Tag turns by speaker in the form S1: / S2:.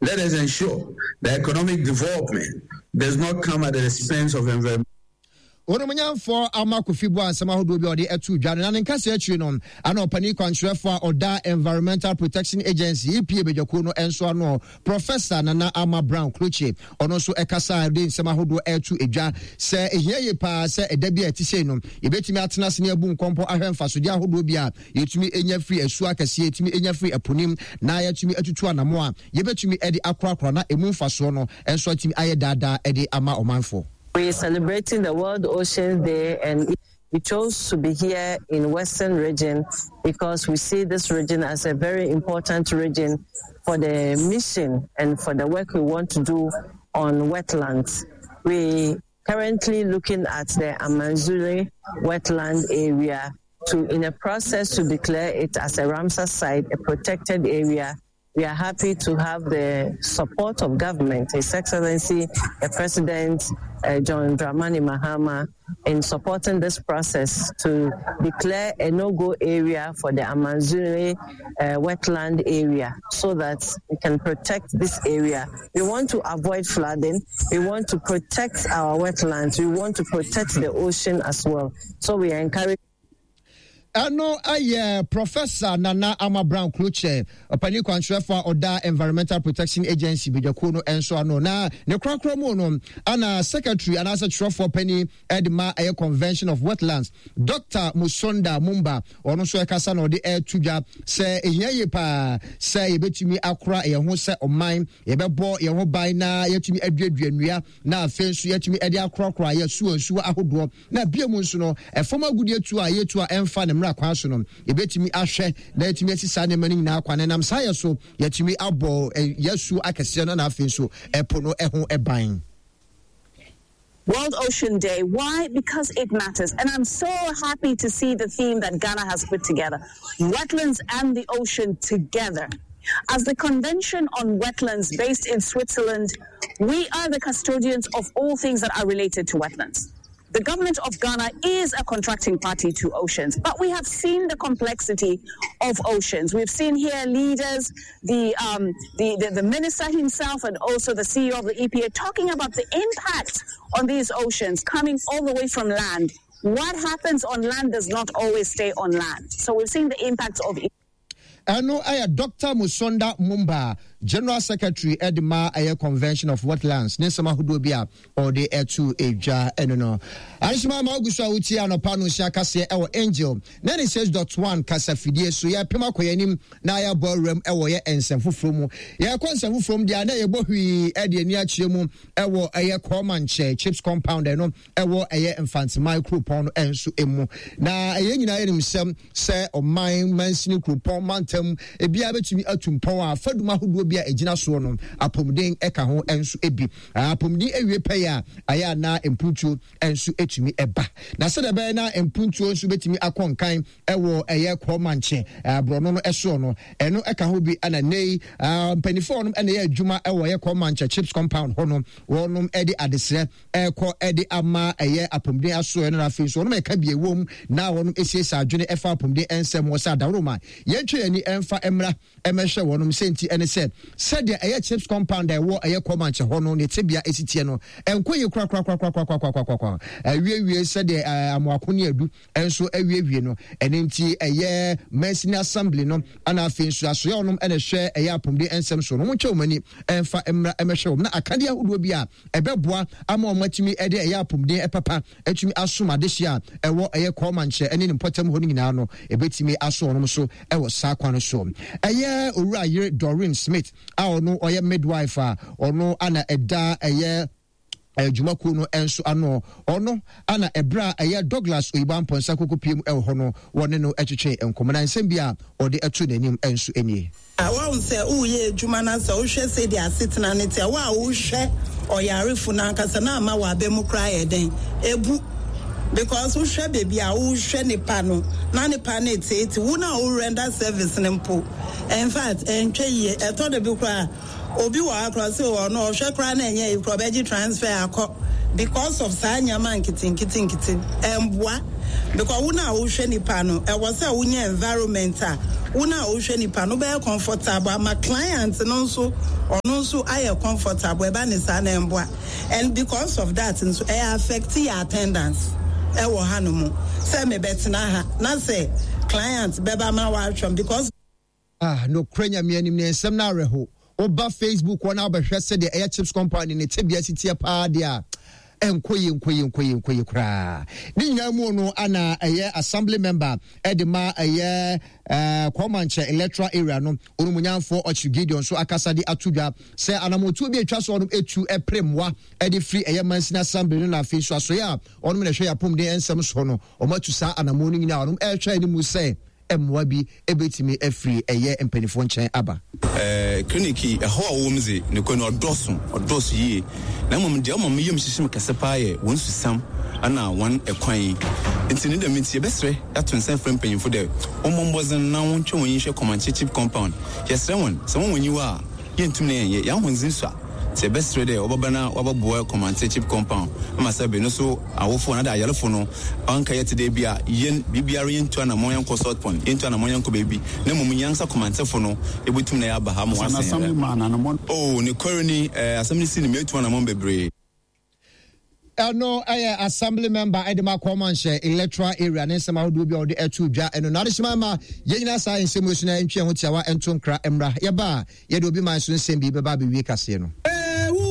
S1: Let us ensure that economic development does not come at the expense of environment.
S2: Onimonyamfoɔ Ama Kofi boa nsɛm ahodoɔ bi a ɔde ato dwa no na ne nkasa akyiri no ana ɔpanin kwankyerɛfoɔ a ɔda Environmental Protection Agency EPA badwakuo no nso ano Professor Nana Ama Brown Klutse ɔno nso ɛkasa a ɔde nsɛm ahodoɔ ɛto dwa sɛ ɛhia yie paa sɛ ɛda bi a ɛte sei no yɛbɛtumi atena ase ne abu nkɔmpɔ ahwɛ mfasodeɛ ahodoɔ bi a yɛtumi nya firi asuo akɛseɛ yɛtumi nya firi ɛpo nim na yɛatumi atutu anamo a yɛbɛtumi de akorakora na ɛmu mfasoɔ no nso atumi ayɛ daadaa de ama ɔmanfoɔ.
S3: We are celebrating the World Oceans Day and we chose to be here in Western region because we see this region as a very important region for the mission and for the work we want to do on wetlands. We currently looking at the Amanzule wetland area to in a process to declare it as a Ramsar site, a protected area we are happy to have the support of government, His Excellency the President uh, John Dramani Mahama, in supporting this process to declare a no-go area for the Amanzule uh, wetland area so that we can protect this area. We want to avoid flooding. We want to protect our wetlands. We want to protect the ocean as well. So we encourage
S2: ɛno yɛ Professor Nana Ama Brown Klutse, ɔpanin kwankyerɛfo a ɔda Environmental Protection Agency badwakuo no nso ano. Na ne korakora mu no, ana secretary anaasɛ kyerɛfoɔ panin de ma ɛyɛ Convention of Wetlands, Dr. Musonda Mumba, ɔno nso ɛkasa na ɔde ɛreto dwa sɛ ehia yie paa sɛ yɛbɛtumi akora yɛn ho sɛ ɔman, yɛbɛbɔ yɛn ho ban na yɛatumi aduadua nnua na afei nso yɛatumi de akorakora yɛn asuo ahodoɔ. Na bio mu nso no, ɛfam agudeɛ tuo a yɛtu a ɛmfa ne mmara kwan so no, yɛbɛtumi ahwɛ na yɛatumi asi saa nneɛma no nyinaa kwan. Ɛnam saa yɛ so, yɛatumi abɔ yɛn asuo akɛseɛ no na afei nso ɛpo no ho ban.
S4: World Ocean Day. Why? Because it matters. And I'm so happy to see the theme that Ghana has put together wetlands and the ocean together. As the Convention on Wetlands based in Switzerland, we are the custodians of all things that are related to wetlands. The government of Ghana is a contracting party to oceans, but we have seen the complexity of oceans. We've seen here leaders, the, um, the, the, the minister himself, and also the CEO of the EPA talking about the impact on these oceans coming all the way from land. What happens on land does not always stay on land. So we've seen the impact of
S2: Ɛno yɛ Dɔkta Musonda Mumba, General Secretary de ma ɛyɛ Convention of Wetlands ne nsɛm ahodoɔ bi a ɔde ɛto edwa ɛno no. Adehyema ma ogu so a wotie anɔpa no nhyia kaseɛ ɛwɔ Angel 96.1 kasafidie so. Yɛpem akɔ yɛn anim na yɛabɔ awuram ɛwɔ yɛ nsɛm foforɔ mu. Yɛkɔ nsɛm foforɔ mu deɛ na yɛbɔ hwii ɛde ani akyerɛ mu ɛwɔ ɛyɛ Kɔɔmankyɛ Chips Compound ɛno ɛwɔ ɛyɛ Mfantsiman kuropɔn no nso mu. Na ɛyɛ nyinaa yɛnim sɛ sɛ ɔman mansini kuropɔn mantam ebiara bɛtumi atu mpɔn a fadum ahodoɔ bi a ɛgyina soɔ no apɔmuden ɛka ho nso bi. Apɔmuden awie pɛyɛ a ayɛ anaa mpuntuo nso ɛtumi ɛba. Na sɛdeɛ ɛbɛyɛ na mpuntuo nso bɛtumi akɔ nkan ɛwɔ ɛyɛ kɔɔmankye borɔno no ɛsoɔ no ɛno ɛka ho bi ɛna nnɛ yi mpanimfoɔ nom ɛna ɛyɛ adwuma ɛwɔ ɛyɛ kɔɔmankye chips compound hɔ no wɔnom ɛde adesrɛ ɛrekɔ de ama ɛyɛ apɔmuden asoɛ no na afei nso wɔnom ɛka bi ɛwom na wɔnom esiesie adwene ɛfa apɔmuden nsɛm ho sɛ adaworoma yɛntwe yɛn ani ɛmfa mmra ɛmɛhwɛ wɔnom sɛ nti ɛne sɛ sɛdeɛ ɛyɛ chips compound a ɛwɔ ɛyɛ kɔmankyɛ hɔ no ne tebea esi teɛ no ɛnkɔ yie korakorakorakorakorakorakorakora awiewie sɛdeɛ amoako ne adu nso awiewie no ɛne nti ɛyɛ mansini assembly no ana afei nso asoɛ wɔnom ɛna ɛhwɛ ɛyɛ apɔmuden nsɛm so no wɔn nkyɛn wɔn ani ɛmfa mmra ɛmɛhwɛ wɔn na akadeɛ ahodoɔ bi a ɛbɛboa ama wɔn atumi de ɛyɛ apɔmuden papa atumi asom adehye a ɛwɔ ɛyɛ kɔɔmankyɛ ne ne mpɔtam hɔ no nyinaa no ɛbɛtumi aso wɔn so ɛwɔ saa kwan no so. Ɛyɛ owura yere Doreen Smith a ɔno ɔyɛ midwife a ɔno ana ɛda ɛyɛ adwumakuo no nso ano ɔno ana ɛberɛ a ɛyɛ Douglas Oyibo Amponsah koko pie mu ɛwɔ hɔ no wɔne no ɛtwetwe nkɔmmɔ na nsɛm bi a ɔde ɛto n'anim nso nie.
S5: Woahu sɛ woreyɛ adwuma na sɛ wohwɛ sɛdeɛ asetena no te a, wo a wohwɛ ɔyarefo no ankasa na ama w'aba mu koraa ayɛ dɛn? Ebu. Because wohwɛ baabi a wohwɛ nipa no na nipa no reteete wo no a wo render service no mpo. In fact, ɛntwa yie. Ɛtɔ da bi koraa obi wɔ ha koraa sɛ ɔno ɔhwɛ koraa na ɛnyɛ yi koraa ɔbɛgye transfer akɔ. Because of saa nneɛma nketenkete nkete ɛmboa because wo no a wohwɛ nipa no ɛwɔ sɛ wonya environment a wo no a wohwɛ nipa no wobɛyɛ comfortable ama client no nso ɔno nso ayɛ comfortable ɛba ne saa na ɛmboa and because of that nso ɛyɛ affect yɛ attendance ɛwɔ ha no mu sɛ mebɛtena ha na sɛ client bɛba ma wahwɛm because.
S2: Ah, nokorɛ Nyame anim ne nsɛm no awerɛho. Woba Facebook hɔ na wobɛhwɛ sɛdeɛ ɛyɛ Chips Compound ne tebea si teɛ paa deɛ a, ɛnkɔ yie, nkɔ yie, nkɔ yie, nkɔ yie koraa. Ne nyinaa mu no ana ɛyɛ Assembly member ɛde ma ɛyɛ eh, Kɔmankyɛ electoral area no, Onumunyamfoɔ Ɔkyere Gideon nso akasa de ato dwa sɛ anamotuo bi atwa so ɔnom etu ɛpere mmoa ɛde firi ɛyɛ Mansin Assembly no na afei nso asoeɛ a ɔnom na ɛhwɛ yɛ apɔmuden nsɛm soɔ no, wɔn atu saa anamoɔ no nyinaa ɔnom ɛrehwɛ anim sɛ mmoa bi bɛtumi afiri ɛyɛ mpanimfoɔ nkyɛn aba.
S6: Clinic yi, ɛhaw a ɔwɔ mu dze, nokwar no, ɔdɔɔ so, ɔdɔɔ so yie. Na mbom dza ɔma me yamu hyehye me kɛse paa yɛ hɔn susam na hɔn kwan. Ntsi ne dɛm ntsi, yɛbɛserɛ yɛato nsa efrɛ mpanyimfo dɛ wɔmbɔ mbɔdzen na wɔntwe hɔn enyi nhwɛ Kɔmankyɛ Chip Compound. Yɛserɛ hɔn, sɛ hɔn enyiwa a, yenntum na yɛnnyɛ, hɛn ahondze sua. Ntsi yɛbɛserɛ dɛ wɔbɛba na wɔabɔboa Kɔmantse Chip Compound ma sɛ ber no so awofo anaadɛ ayarfo no ɔnnkɛyɛ tse dɛ bi a hɛn biribiara yenntu anamɔn yɛnnkɔ Salt Pond, yenntu anamɔn yɛnnkɔ beebi na mbom hɛnankasa Kɔmantsefo no yebotum na yɛaba ha ma wɔasan hɛn. Oh, nokwar ni, asɛm no sii no meetu anamɔn beberee.
S2: Ɛno yɛ Assembly member de ma Kɔmanhyɛ electoral area ne nsɛm ahodoɔ bi a wɔde ɛto dwa ɛno na adehyema ma yɛn nyinaa saa nsɛm yi so na ntwe ho tiawa nto nkra mmra yɛba a yɛde obi man so nsɛm bi bɛba abɛwie kaseɛ no.